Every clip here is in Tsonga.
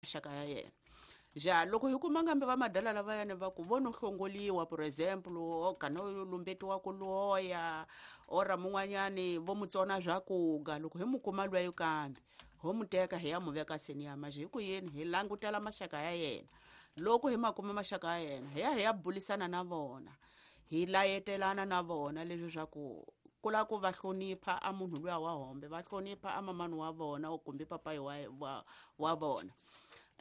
Maxaka ya yena ja loko hi kuma ngambe va madala lavayani va ku vo no hlongoliwa, for example, o kana yo lumbetiwa ku loya ora mun'wanyani vo mu tsona swakuga, loko hi mu kuma lweyo kambe ho mu teka hi ya mu veka seniya maje hi ku yini hi langutela maxaka ya yena. Loko hi ma kuma maxaka ya yena, hi ya hi ya bulisana na vona, hi layetelana na vona leswi swa ku ku lava ku va hlonipha a munhu luya wa hombe, va hlonipha a mamani wa vona kumbe papayi wa vona.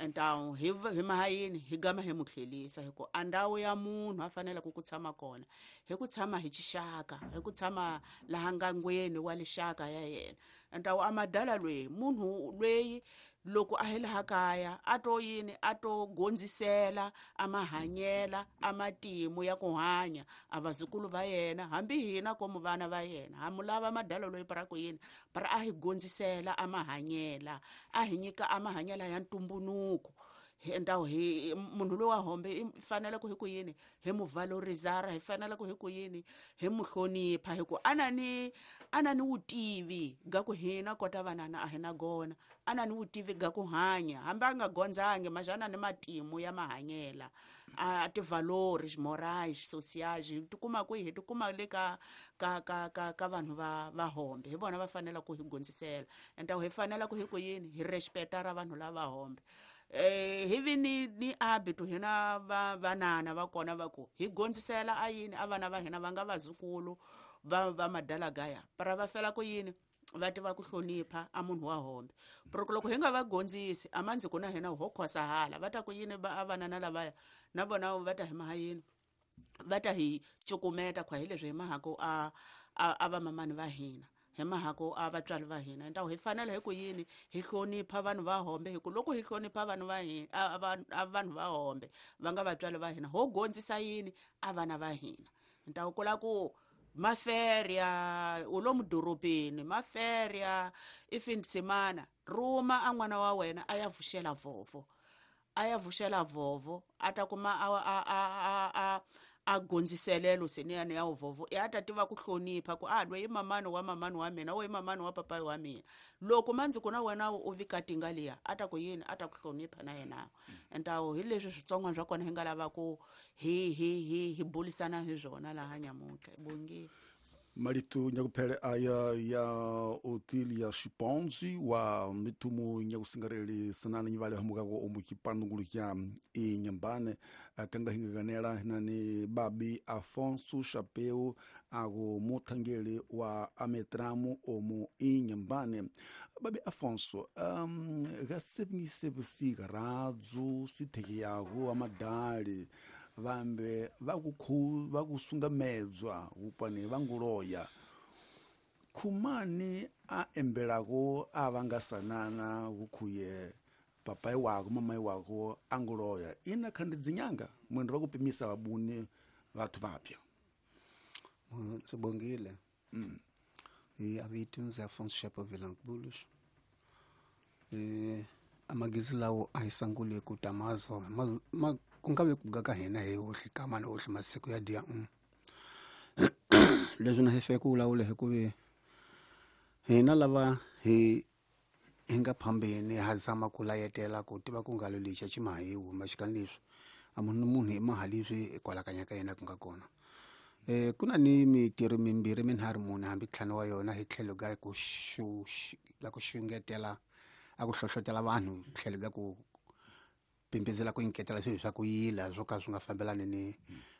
Entawu hi maha yini hi gama hi mu tlhelisa, hi ku a ndhawu ya munhu a faneleke ku tshama kona hi ku tshama hi xixaka, hi ku tshama laha ngangweni wa lixaka ya yena. Entawu a madala lweyi munhu lweyi loko a hi laha kaya a to yini a to gondzisela a mahanyela a matimu ya ku hanya a vazukulu va yena, hambi hina komu vana va yena ha mu lava madala loyi para ku yini para a hi gondzisela a mahanyela, a hi nyika a mahanyela ya ntumbunuko. Hi ndhawu hi munhu loyi wa hombe i fanele ku hi ku yini hi mu valorizara, hi fanele ku hi ku yini hi mu hlonipha, hi ku a na ni vutivi ga ku hina kota vanana a hi na gona, a na ni vutivi ga ku hanya hambi a nga gondzangi maxana ni matimu ya mahanyela a tivalori morais sociais hi tikuma kwihi, hi tikuma le ka ka ka ka ka vanhu va hombe, hi vona va fanele ku hi gondzisela. Ende hi fanele ku hi ku yini hi respecta ra vanhu lava hombe. Hi vi ni habito hina vanana va kona va ku hi gondzisela a yini a vana va hina va nga vazukulu va madala gaya para va fela ku yini va tiva ku hlonipha a munhu wa hombe. Pero loko hi nga va gondzisi a mandzi ku na hina ho khosa hala va ta ku yini va vanana lavaya na vona va ta hi maha yini va ta hi cukumeta khwa hi leswi hi mahako a va mamani va hina, hi mahako a vatswari va hina. Entawu hi fanele hi ku yini hi hlonipha vanhu va hombe, hi ku loko hi hlonipha vanhu va hina a vanhu va hombe va nga vatswari va hina ho gondzisa yini a vana va hina. Entawu ku la ku maferia u lomu dorobeni maferia i findsimana ruma a n'wana wa wena a ya vuxela vovo, a ya vuxela vovo a ta kuma a gondziselelo seniyani ya vovo ya ta tiva ku hlonipha ku a loyi mamani wa mamani wa mina, wo i mamani wa papayi wa mina. Loko mandzi ku na wena u vika tinga liya a ta ku yini a ta ku hlonipha na yena. Entawu hi leswi switsongwana swa kona hi nga lava ku hi bulisana hi swona laha nyamuntlha bongi. Marito nyakuphele aya ya Otilia Xiponzi wa mitumu nyakusingareli sanana nyivale hamukako omu chipanungulu cha Inhambane kanga hingaganela nani babi Afonso Chapeu ako muthangeli wa ametramu omu Inhambane. Babi Afonso, gasebngisebusika radzu sitheke yago amadali vambe vakusungamedzwa upane vanguloya khumani a embelako a vangasanana kukhuye papai wako mamai wako anguloya ina khandi dzinyanga mwendo vakupimisa vabuni vathu vapya. Sibongile. Avitunzi Afonso Chapeu Vilanculos. Amagizi lawo ahisangule kutamazo kungabe kugaka hina hi hohle kamani hohle masiku ya dia. Leswi na hi feke ku vulavula hi ku ve hina lava hi nga phambeni ha zama ku layetela ku tiva ku ngalo lexi a xi mahiwi maxikani leswi a munhu munhu i maha leswi kwalakanya ka yena ku nga kona. Ku na ni mitirho mimbirhi minharhu mune hambi ntlhanu wa yona hi tlhelo ka ku ka ku xungetela a ku hlohlotela vanhu tlhelo ka ku pimpizela ku nyiketela swilo swa ku yila swo ka swi nga fambelani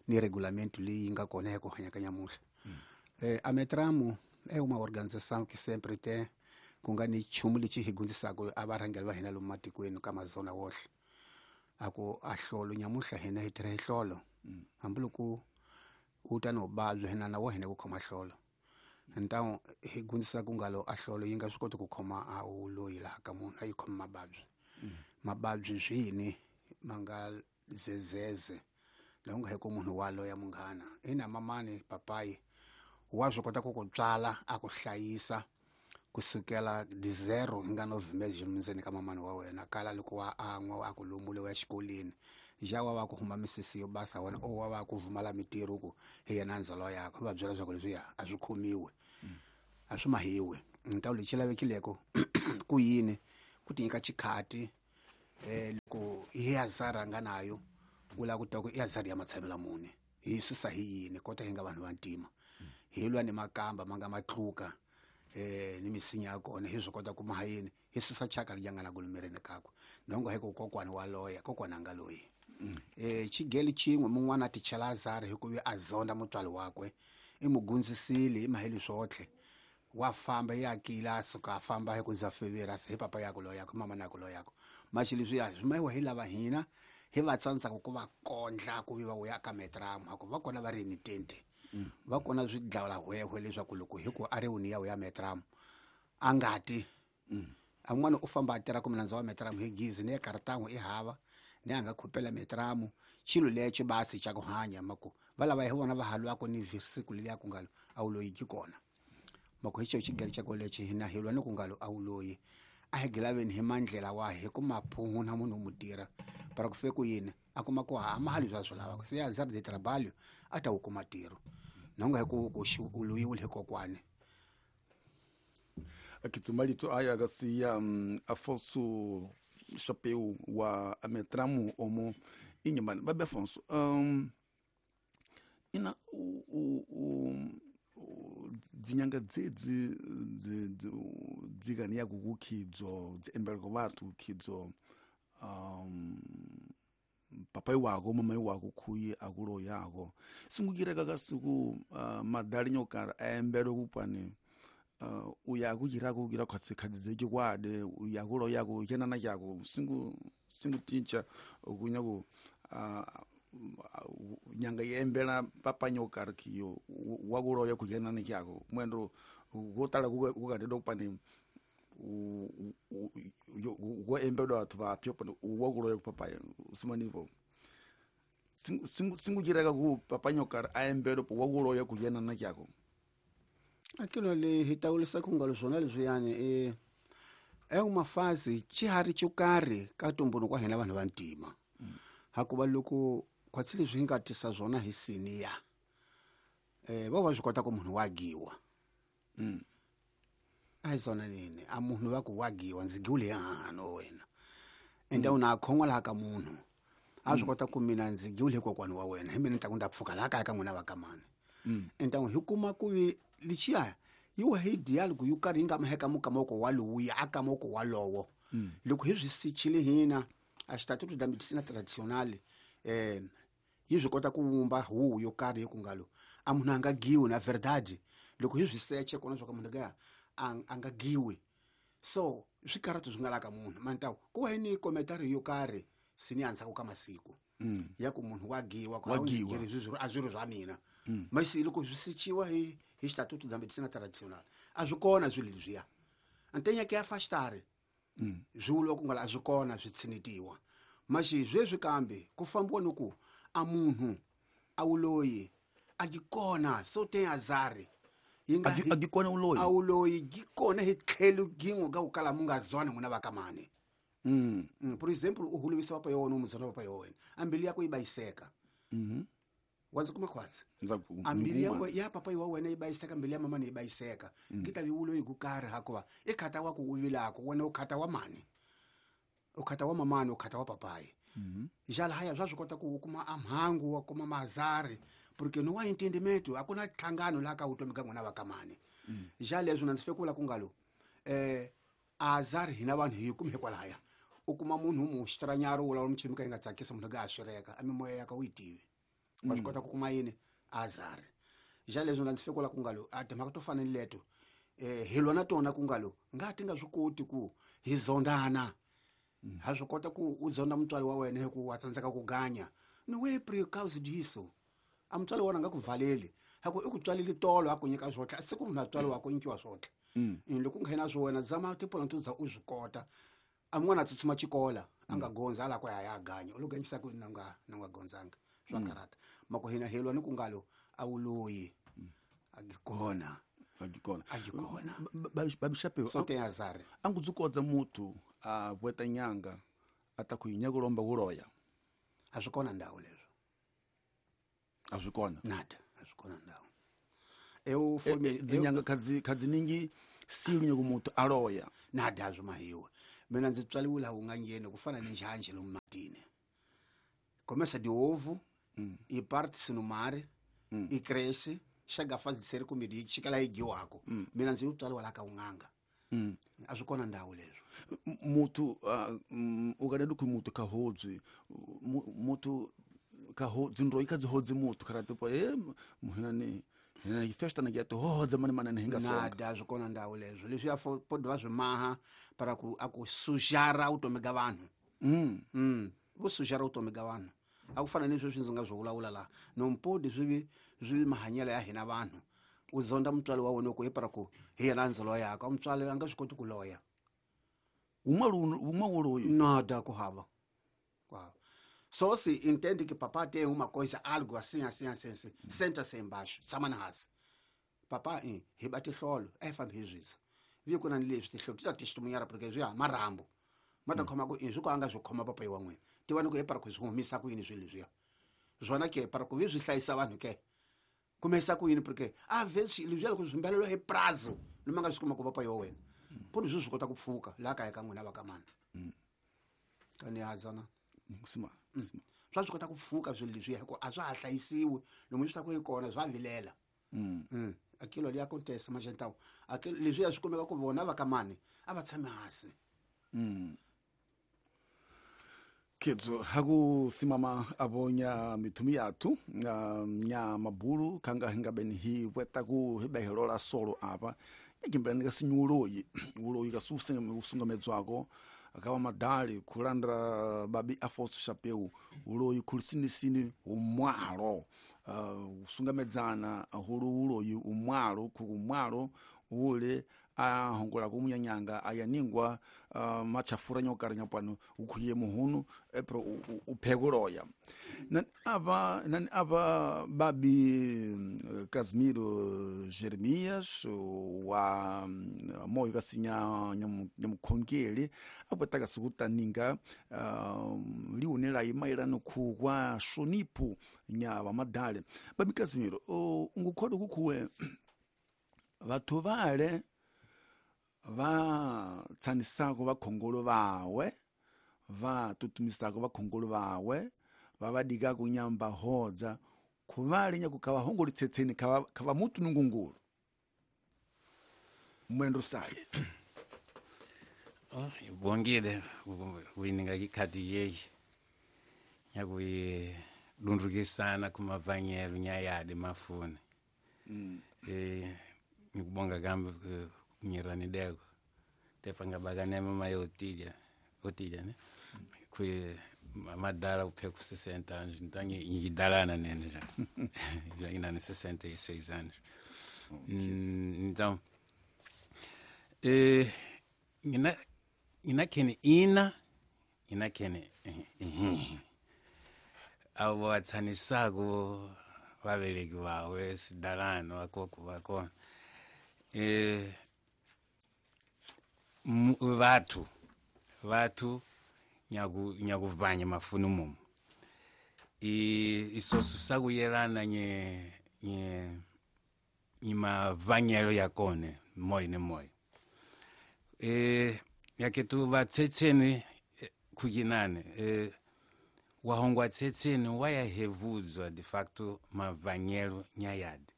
ni regulamento leyi nga kona ya ku hanya ka nyamuhla. Ametramu é uma organização que sempre tem ku nga ni nchumu lexi hi gundzisaka a varhangeri va hina lomu matikweni ka mazona wohle a ku a hlolo nyamuhla hina hi tirha hi hlolo hambiloko u ta no vabya hina na wa hina ku khoma hlolo ntawu hi gundzisa ku ngalo a hlolo yi nga swi koti ku khoma a wu loyi laha ka munhu a yi khomi mavabyi. Mavabyi swini ma nga zezeze la u nga hi ku munhu wa loya munghana ina mamani papayi wa swi kota ku ku tswala a ku hlayisa kusukela di zero hi nga no vhumezi ndzeni ka mamani wa wena kala loko wa an'wa a ku lumule wa xikolweni ja wa va ku huma misisi yo basa wena o wa va ku vumala mitirho ku hi yena ndzalo yakwe va byela leswaku leswiya a swi khomiwe a swi mahiwe ntawu lexi lavekileko ku yini ku ti nyika xikhati Loko hi azara nga nayo u lava ku tiva ku i azara ya matshamela muni hi susa hi yini kota hi nga vanhu va ntima hi lwa ni makamba ma nga matluka ni misinya ya kona hi swi kota ku maha yini hi susa chaka liya nga na ku mirini kakwe nongo hi ku kokwani wa loya kokwani a nga loyi. Xigeli xin'we mun'wana a ti chela azara hi ku ve a zonda mutswari wakwe i mu gundzisile hi maheli swotlhe wa famba ya kila a suka a famba hi ku za fevera hi papa yakwe loyako mama nako loyako maxi leswiya swi mayiwa hi lava hina hi va tsandzaka ku va kondla ku vi va vuya ka metramu ha ku va kona va ri ni tente va kona swi dlawula hwehwe leswaku loko hi ku a ri wuni ya ya metramu a ngati a n'wana u famba a tirha ku milandzu wa metramu hi gizi ni ya kartan'we i hava ni a nga khupela metramu xilo lexi basi xa ku hanya mako va lava hi vona va halwako ni siku leliya ku ngalo a wu loyi ki kona mako hi xo xigelo xa lexi hina hi lwa ni ku ngalo a wu loyi a hi gilaveni hi mandlela wa hi ku maphuhu na munhu mu tirha para ku fe ku yini a kuma ku ha mahali swa swi lavaka se azar de trabalho a ta wu kuma ntirho nonga hi ku ku xi u loyiwile hi kokwani. Akitsumalito aya akasiya Afonso Chapeu wa Ametramu omo inyamani babe Afonso ina u dzinyanga dzedzi dzikani ya kukhidzo dziembeleko vhathu khidzo papai wako mamai wako khuyi akulo yako singukireka kasiku madali nyokara aembelwe kupani uya kuchira kugira khwatsi khadzi kwade uya kulo yako chenana chako singu tincha kunyaku nyanga yembela papa nyokara kiyo wakulo yako chenana chako mwendo gotala kukadede kupani go embelwa batho ba pyo wakulo yako papa simanivo singu jireka ku papa nyokara aembelwe wakulo yako chenana chako. Aquilo ali hitawulisa ku ngalo swona leswiyani é uma fase xiharhi xo karhi ka tumbuluko wa hina vanhu va ntima hakuva loko khwatsi leswi hi nga tisa swona hi siniya va va swi kota ku munhu wa giwa a hi swona nini a munhu va ku wa giwa ndzi giwile hano wena ende u na khon'wa laha ka munhu a swi kota ku mina ndzi giwile hi kokwani wa wena hi mina ni ta ku ni ta pfuka laha kaya ka n'wina va ka mani ende hi kuma ku vi lichiya yiwa hi dialogue yo karhi yi nga maheka mukamoko wa lowuya a kamoko walowo loko hi swi sichile hina a xitatuto da medicina tradicional yi swi kota ku vumba huwu yo karhi ku ngalo a munhu a nga giwi na verdade loko hi swi seche kona swa ka munhu ka a nga giwi so swi karhata swi nga la ka munhu mantawu ku wa ni commentary yo karhi sini andzhaku ka masiku ya ku munhu wa giwa ku swi a swi ri swa mina masi loko swi sichiwa hi xitatuto da medicina tradicional a swi kona swilo leswiya antenya ke ya fastare swi vuriwa ku nga a swi kona swi tshinetiwa maxi sweswi kambe ku fambiwa ni ku a munhu a wu loyi a gi kona so te azari yi nga a gi kona uloyi a wu loyi gi kona hi tlhelo gin'we ka ku kala mu nga zwani n'wina va ka mani. Por exemplo u hulovisa papa ya wena u muzona papa ya wena a mbilu yakwe yi bayiseka wa ndzi kuma khwatsi a mbilu ya papa wa wena yi bayiseka mbilu ya mamani yi bayiseka ki ta vi uloyi ku karhi hakuva i khata wa ku u vilako wena u khata wa mani u khata wa mamani u khata wa papayi jala haya swa swi kota ku u kuma a mhangu wa kuma mazari porque no wa entendimento a ku na nhlangano laha ka vutomi ka n'wina va ka mani ja leswi na ndzi fike ku vula ku ngalo azari hina vanhu hi kumi hikwalahaya u kuma munhu mu xitranyaro wu lawula michimi ka yi nga tsakisi munhu ka a swireka a mimoya ya ka u yi tivi wa swi kota ku kuma yini azari ja leswi na ndzi fike ku vula ku ngalo a timhaka to fana ni leto hi lwa na tona ku ngalo nga ti nga swi koti ku hi zondana ha swi kota ku u zonda mutswari wa wena hi ku wa tsandzeka ku ganya ni we pre-cause diso a mutswari wa wena a nga ku valeli ha ku i ku tswaleli tolo a ku nyika swotlha siku munhu a tswali wa ku nyikiwa swotlha loko u nghena swo wena zama tipulani to za u swi kota a mun'wana a tsutsuma xikola a nga gondza ala ku ya ya ganya u lo ganyisa ku na nga na nga gondzanga swa karata mako hina helwa ni ku ngalo a wu loyi a gi kona a gi kona a gi kona babishape so te azari a ngu dzukodza muthu a vweta nyanga a ta ku yinya kulomba kuloya a swi kona ndhawu leswo a swi kona nada a swi kona ndhawu eu dzinyanga khadzi ningi silu nyoko muthu a loya nada zwi mahiwe Mina ndzi tswaliwe laha u nga ngheni ku fana ni njhanjhe lomu matini. Começa de ovo e parte-se no mar e cresce, chega a fase de ser comido e chega lá e dyiwako. Mina ndzi tswaliwa laha ka un'anga. A swi kona ndhawu leswo. Muthu u ka dikhu muthu ka hodzwi muthu ka ho dzindro ikha dzi hodzi muthu kha tipo e muhinani hina festa na geto hodza mani manani hinga songa. Nada swi kona ndhawu leswo. Leswi ya pode va swi maha para ku a ku sujara vutomi ga vanhu. Vo sujara vutomi ga vanhu. A ku fana ni sweswi ndzi nga swi vulavula laha. No mpodi swi swi mahanyelo ya hina vanhu. U zonda mutswari wa wena ku hi para ku hi yena ndzi loyaka. Mutswari a nga swi koti ku loya. Uma uloyi. Nada ku hava. Wow. Só se entende que papá tem uma coisa, algo assim, assim, assim, assim. Senta-se embaixo, tshama na hansi. Papá, hi ba tihlolo, a hi fambi hi zwisa. Vi ku na ni leswi tihlolo ti ta testemunhar porque swi ya marhambu. Ma ta khoma ku swi ku a nga swi khoma papa wa n'wina. Tivani ku hi para ku swi humisa ku yini swilo leswiya. Swona ke para ku vi swi hlayisa vanhu ke. Kumesa ku yini porque a vezes leswiya loko swi mbelelo hi prazo, loma nga swi kuma ku papa wa wena. Podi swi swi kota ku pfuka laha kaya ka n'wina va ka mani. Ka ni hazana. Sima. Swa swi kota ku pfuka swilo leswiya hikuva a swa ha hlayisiwi lomu swi ta ku yi kona swa vilela. Aquilo ali acontece, mas então aquilo leswiya swi kumeka ku vona va ka mani a va tshami hansi. Ketso haku simama abonya mithumi yathu nya mabulu khanga hinga beni hi weta ku hi behelola solo apa yakimbelani ka sinyuloyi uloyi ka usungamedzwako akawa madali kulandra babi Afonso Chapeu uloyi khulisinисini umwalo usungamedzana hulu uloyi umwalo kukumwalo ule ahongola kumunyanyanga ayaningwa machafura nyokara nyapano ukhuye muhunu epro uphekuloya nani apa babi Casimiro Jeremias wa moyo kasinya nyamukhongeli apwetaka sikutaninga liunela imailano khu kwa shonipu nya vamadale. Babi Casimiro ungukhoda kukhuwe vathu vale va tsanisako vakhongolo vawe va tutumisako vakhongolo vawe va vadikako nyamba hodza khuvale nyaku kava hongoli tsetseni kava mutu nungungulu mwendo saye. Oh, ibongile kuyininga ikhadi yeyi nyakuyi lundukisana kumavanyelo nyayadi mafuni. Ngikubonga kambe kunyiranideko tepa ngabakanema mayotilya otilya ne kwi madala kupheka ku 60 anos, então ngidalana nene já já nginane 66 anos. Então ngina ina ngina avo vatsanisako vaveleki vawe sidalano vakoko vakona vathu nyakuvanya mafuni mumu isoso sakuyelana nye mavanyelo yakone moyo ne moyo yaketu vatsetseni kukinane wahongwa tsetseni wayahevudzwa de facto mavanyelo nyayadi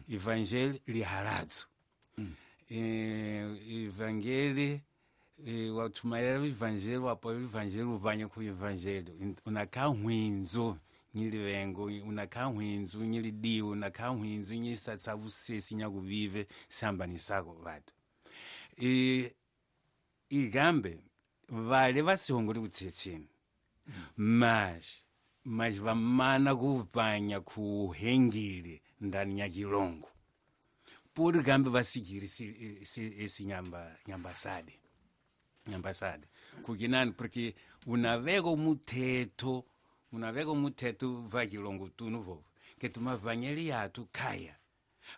evangeli lihaladzo. Evangeli wathumayela evangeli wapola evangeli uvanya ku evangeli unakha hwindzo nyilivengo unakha hwindzo nyilidiwo unakha hwindzo nyisatsa vusesi nyakuvive sihambanisako vatu igambe vale vasihongoli kutsetseni mas vamana kuvanya kuhengile ndani ya chilongo puri gambe vasikiri esi nyambasade kukinani porque unaveko muthetho va chilongo tunu vovo ke tumavanyeli yathu khaya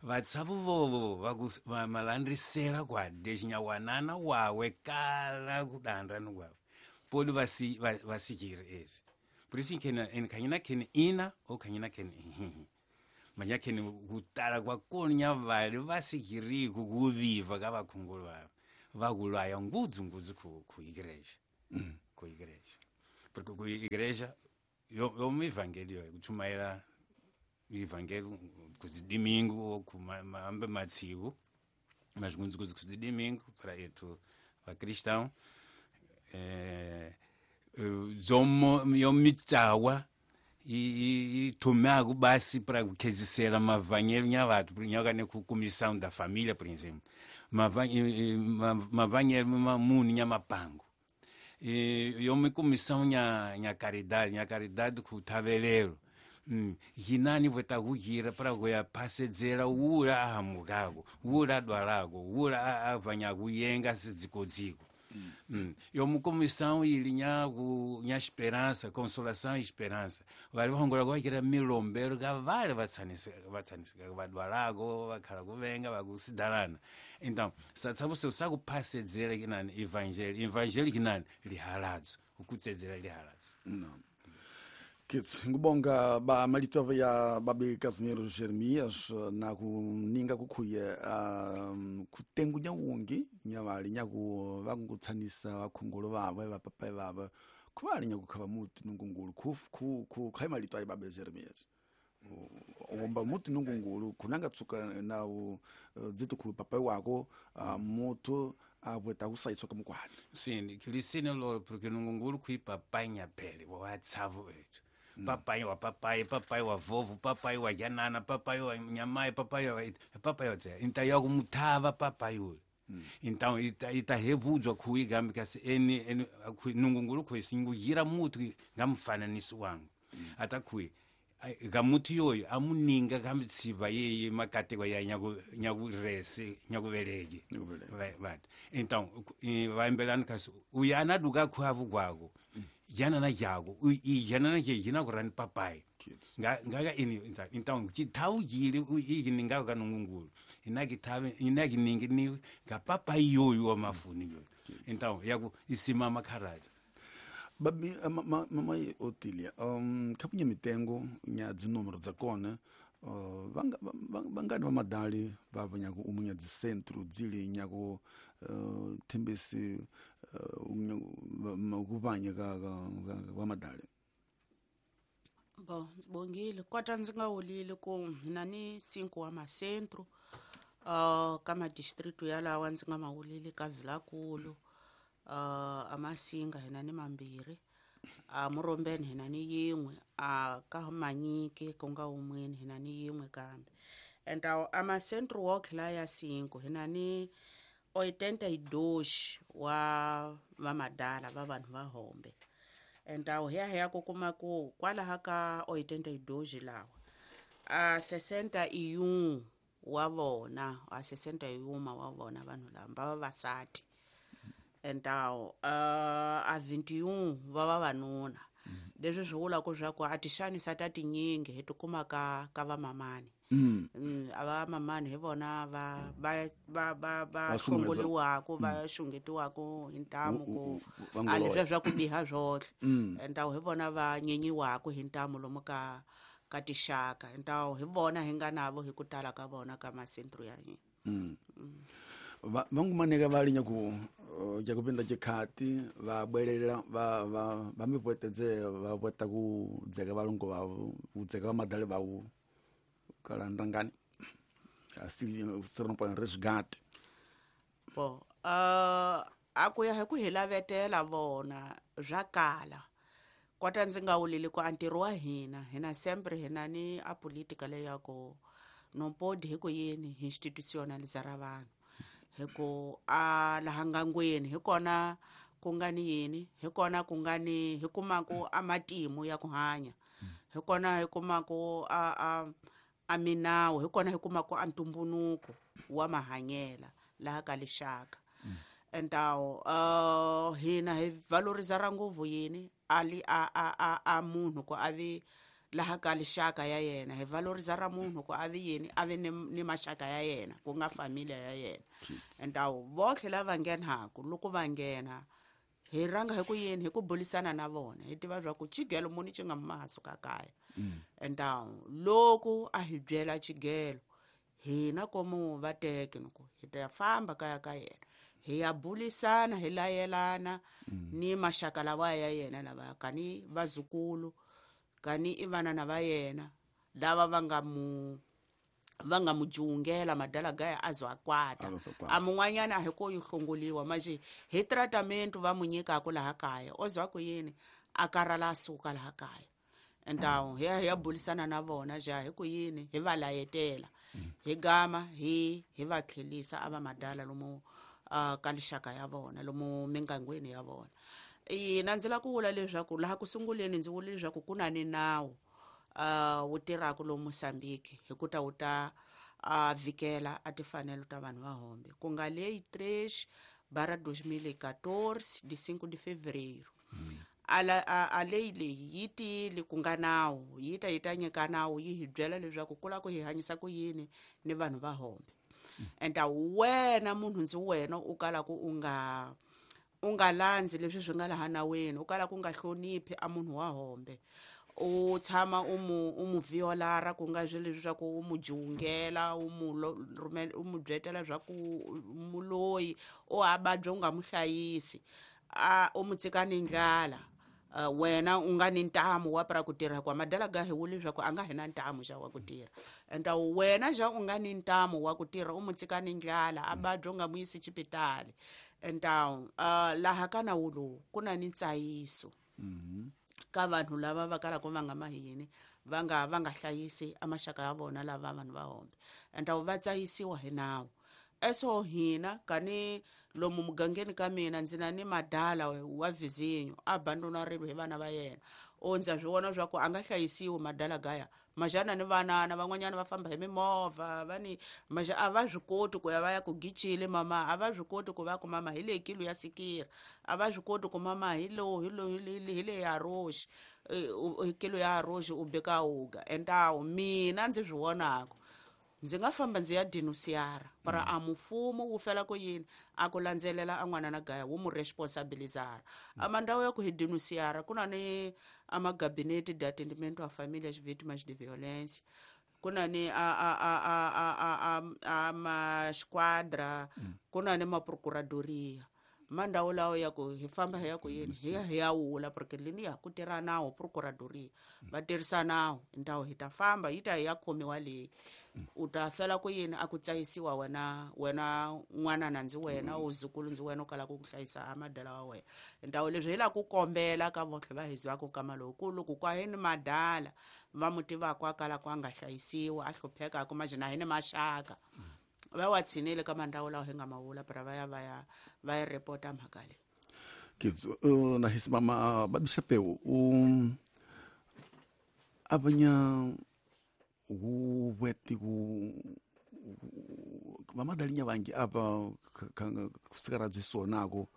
vatsavu vovo vamalandrisela kwade xinyawanana wawe kala kudanda ni kwawe poli vasikiri esi por isso khanyina khene ina ou khanyina khene ihihi manya khene kutala kwakona nyavale vasikiriku kuviva ka vakhongolo vavo Vakulaya ngudzu ngudzu ku igreja. Ku igreja. Porque ku igreja yo mu evangelho kuchumaira evangelho kuzi domingo ku ambe matsigo mas ngudzu ngudzu kuzi domingo para etu va cristão zomo yomitawa e tomago basi para kukhezisela mavangelo nyavatu nyakane ku comissão da família, por exemplo, mavangelo mamuni nyamapango yome comissão nya caridade ku tavelero hinani vota kugira para kuya pasedzera ula ahamukako ula dwalako ula avanya kuyenga sidzikodziko. Yomu comissão ili nya esperança, consolação e esperança. Vale vahongola kwakira milombero ka vale vatsanisika vadwalako vakhala kuvenga vakusidalana. Então satsavuso sakuphasedzera kinani evangelho kinani lihaladzo ukutsedzera lihaladzo. Não. Kitsi ngubonga ba malitova ya babe Casimiro Jeremias na kuninga kukhuye kutengu nyawungi nyavali nyaku vakungutsanisa vakhongolo vavo vapapai vavo kuvali nyakukhava muti nungungulu ku khai malito ayi babe Jeremias omba muti nungungulu kunanga tsuka na dzitu ku papai wako mutu abweta kusaitswa kamukwani. Sim, kilisine lolo porque nungungulu kuipapai nyapele watsavu ethu. Papai wa papai, papai wa vovo, papai wa janana, papai wa nyamai, papai wa então eu mutava papai ule. Então ita revudzwa kuiga because eni nungungulu kuisingugira mutu ngamfananiso wangu. Ata kui gamuti yoyo amuninga kamitsiva yeye makatekwa ya nyakurese nyakuveleke. Então vaembelani kasi uyana duka khwavu kwako. Yana jago i yana je kurani papai ngaka ini então kitau jili i ninga ka nungungulu ina kitave ina kiningi ni ga papai yoyo wa mafuni yoyo então yaku isimama kharaja. Babi mamai Otilia kapunye mitengo nya dzinúmero dza kona vangani va madali va nyaku umunya dzi centro dzili nyaku thembesi kuvanya ka va madali. Bo bongile kwata ndzi nga wulile ku hina ni 5 wa macentro ka madistrito yalawa ndzi nga mawulile ka Vilakulu amasinga hina ni mambirhi a Murombeni hina ni yin'we a ka Manyike ku nga wun'weni hina ni yin'we kambe and amacentro wo tlhela ya 5 hina ni 82 wa vamadala va vanhu va hombe and hiya ku kuma ku kwalaha ka 82 lawa a 61 wa vona a 61 wa vona vanhu lava va vavasati and a 21 va vavanuna. Leswi swi vulaka swa ku a ti xanisa ta tinyingi hi tikuma ka vamamani. A vamamani hi vona va va va va va hlongoliwaka va xungetiwaka hi ntamu ku a leswiya swa ku biha swohle. Entawu hi vona va nyenyiwaka hi ntamu lomu ka tixaka. Entawu hi vona hi nga navo hi ku tala ka vona ka macentro ya hina. Vangumaneka va nyaku jakupinda chikhati va bwelela va mipwetedze va pweta ku dzeka valongo vavo ku dzeka va madali vavo kala ndangani asi sirino resgate. Bo a ku ya hi ku hi lavetela vona swa kala kwata ndzi nga wulile ku a ntirho wa hina hina sempre hina ni a politika leyi ya ku no podi hi ku yini institutionaliza ra vanhu hi ku a laha ngangweni hi kona ku nga ni yini hi kona ku nga ni hi kumaku a matimu ya ku hanya hi kona hi kumaku a minawu hi kona hi kumaku a ntumbunuko wa mahanyela laha ka lixaka. Entawu hina hi valoriza ra nguvu yini ali a munhu ku avi laha ka lixaka ya yena hi valoriza ra munhu ku avi yini avi ni maxaka ya yena ku nga familia ya yena. Entawu votlhe lava nghenaku loko va nghena hi ranga hi ku yini hi ku bulisana na vona hi tiva swa ku xigelo muni xi nga masuka kaya. Entawu loko a hi byela xigelo hina komu va teke loko hi ta famba kaya ka yena Hi ya bulisana hi layelana ni maxaka lawa ya yena lava kani vazukulu kani i vanana va yena lava va nga mu jungela madala gaya azwa kwata a mun'wanyana a hi ko yi hlongoliwa manje hi tratament va mu nyikaka laha kaya o zwa ku yini a karhala a suka laha kaya entawu hi ya bulisana na vona ja hi ku yini hi va layetela hi gama hi va tlhelisa a va madala lomu ka lixaka ya vona lomu mingangweni ya vona. Ina ndzi lava ku vula leswaku laha ku sunguleni ndzi vula leswaku ku na ni nawu wu tirhaka lomu Mozambique hi ku ta wu ta vikela a timfanelo ta vanhu va hombe ku nga lei 3/2014 de 5 de fevereiro. A lei leyi yi tile ku nga nawu yi ta nyika nawu yi hi byela leswaku ku lava ku hi hanyisa ku yini ni vanhu va hombe. Enta wena munhu ndzi wena u kalaka u nga landzi leswi swi nga laha naweni u kalaka u nga hloniphi a munhu wa hombe u tshama u mu violara ku nga swi leswaku u mu jungela u mu byetela swa ku muloyi o abadya u nga mu hlayisi a u mu tshika ni ndlala wena u nga ni ntamu wa pra ku tirha kwa madala ga hi wuli leswaku a nga hi na ntamu xa wa ku tirha enta wena xa u nga ni ntamu wa ku tirha u mu tshika ni ndlala a badya u nga mu yisi xipitali enta laha ka nawu lowu ku na ni ntsayiso ka vanhu lava va kalaka va nga mahini va nga hlayisi a maxaka ya vona lava vanhu va hombe enta va tsayisiwa hi nawu. Eso hina kani lomu mugangeni ka mina ndzi na ni madala wa vizinyo a abandonarilwe hi vana va yena o ndza swi vona swa ku a nga hlayisiwi madala gaya majana ni vanana van'wanyana va famba hi mimovha va ni maja a va swi koti ku ya va ya ku gicile mama a va swi koti ku va ku mama hi leyi kilo ya sikira a va swi koti ku mama hi lo hi le ya roxi kilo ya roxi u beka uga entawu mina ndzi swi vonaka ndzi nga famba ndzi ya denunciara para a mfumo wu fela ku yini a ku landzelela a n'wana na gaya wu mu responsabilizara a mandhawu ya ku hi denunciara ku na ni a magabinete de atendimento a famílias vítimas de violência ku na ni a ma-squadra ku na ni ma-procuradoria mandhawu lawa ya ku hi famba hi ya ku yini hi ya wula porque lini ya ku tirha nawu procuradoria va tirhisa nawu ndhawu hi ta famba yi ta hi ya khomiwa leyi u ta fela ku yini a ku tsayisiwa wena n'wana na ndzi wena u zukulu ndzi wena u kalaka ku hlayisa a madala wa wena ndhawu leswi hi lava ku kombela ka votlhe va hi zwaka nkama lowu ku loko kwa hi ni madala va mu tivaka a kalaka a nga hlayisiwa a hluphekaka majina hi ni maxaka va wa tshinele ka mandhawu lawa hi nga mavula para va ya va ya va ya repota mhaka leyi. Kitso na hisi mama babisapeu abanya wu weti ku vamadalinya vangi apa kusikara byi sonako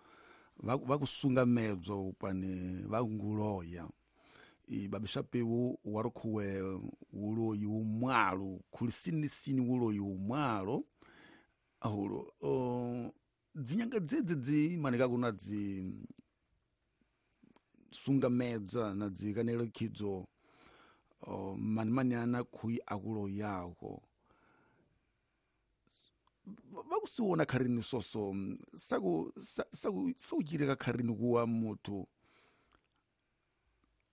va ku sunga medzo pane va nguloya i babisapeu wa rukhuwe wuloyi umwalo khulisini wuloyi umwalo ahulo dzinyanga dzedzi dzi manika kuna dzi sunga medza na dzi kanelo khidzo manimanyana khui akulo yako vakusiwona kharini soso saku saku kharini kuwa muthu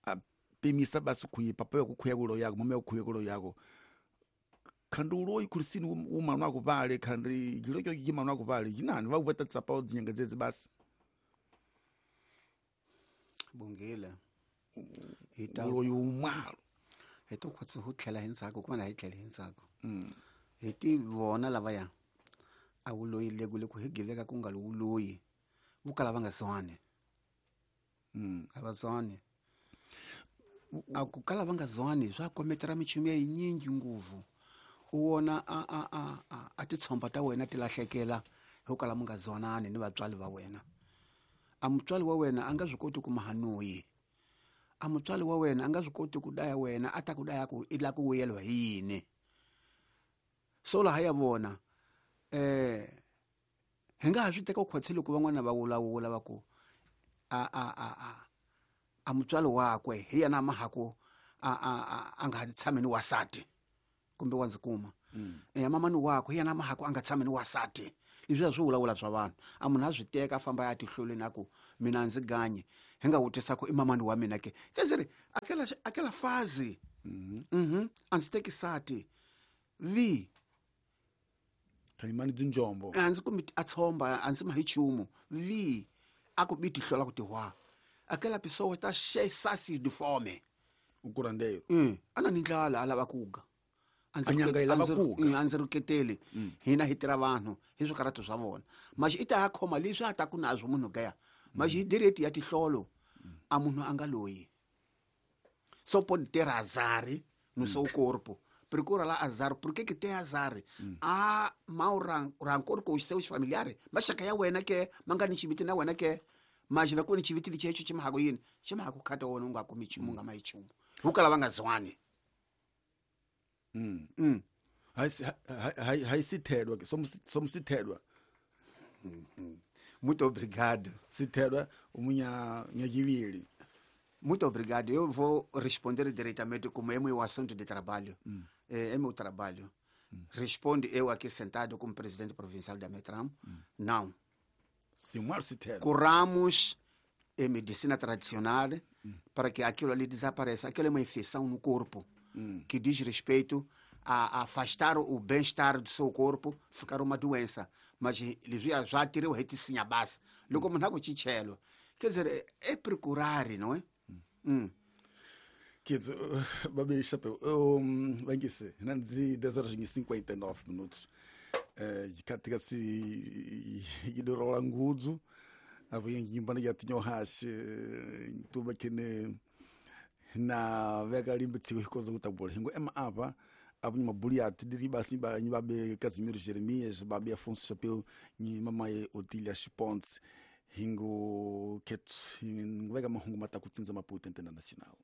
a pimisa basi khuyi papa ya kukhuya kulo yako mama ya kukhuya kulo yako khandi uloyi khulisini umanu akuvale khandi chilo cho chimanu akuvale chinani vakupeta tsapa dzinyanga dzedzi basi bungile uloyi umwalo hi to khotse ho tlhela hi ndzhaku kuma na hi tlhela hi ndzhaku hi ti vona lavaya a wuloyi le ku hi giveka ku nga wuloyi vo kala va nga zwani a va zwani a ku kala va nga zwani swa kometera michumu ya yinyingi nguvu u wona a titshomba ta wena ti lahlekela hi ku kala mu nga zwanani ni vatswari va wena a mutswari wa wena a nga swi koti ku mahanoyi a mutswari wa wena a nga swi koti ku daya wena a ta ku daya ku i la ku vuyeliwa hi yini so laha ya vona hi nga ha swi teka khotse loko van'wana va vulavula va ku a mutswari wakwe hi yena mahaku a nga ha tshami ni wasati kumbe wa ndzi kuma mamani wakwe hi yena mahaku a nga tshami ni wasati Leswiya swi vulavula swa vanhu. A munhu a swi teka a famba ya tihloleni a ku mina a ndzi ganyi. Hi nga vutisa ku i mamani wa mina ke. Quer dizer, aquela fase. A ndzi teki sati. Vi. Khalimani dzinjombo. A ndzi kumi a tshomba, a ndzi ma hi nchumu. Vi. A ku bi tihlola ku tihwa. Aquela pessoa tá cheia sasi de fome. O curandeiro. A na ni ndlala a lava ku ga. A ndzi A nyanga yi lava ku ga. A ndzi rhuketeli. Hina hi tirha vanhu hi swikarhato swa vona. Mas i ta ya khoma leswi a ta ku nazwo munhu gaya. Mas hi direct ya tihlolo a munhu a nga loyi. Só pode ter azar no seu corpo. Procura lá azar. Por que que tem azar? Há mau rancor com os seus familiares. Mas chaka ya wena ke, manga ni chiviti na wena ke. Mas na kuni chiviti lichecho chimhago yini. Chimhago khata wona unga kumi chumu nga mai chumu. Hukala vanga zwani. Hai sithedwa ke, somsithedwa. Muito obrigado. Sithedwa umunya nyajivili. Muito obrigado. Eu vou responder diretamente como é meu assunto de trabalho. É meu trabalho. Responde eu aqui sentado como presidente provincial da Metram? Não. Senhor Sithedwa. Curamos em medicina tradicional para que aquilo ali desapareça. Aquilo é uma infecção no corpo que diz respeito a afastar o bem-estar do seu corpo, ficar uma doença. Mas ele já tirou reticinha base. Logo como não chichelo. Quer dizer, é procurar, não é? Kids, babi chapéu. Vem aqui, 10 horas e 59 minutos. Katika si idorola ngudzo apo nyumbani ya tinyo hash tuba kene na veka limbe tsiko hikozo kutabula hingo ema apa apo ni mabuli ati diri basi ba ni babe Casimiro Jeremias babe Afonso Chapéu ni mamaye Otília Chiponte hingo ket veka mahungu matakutsinza Maputo Internacional.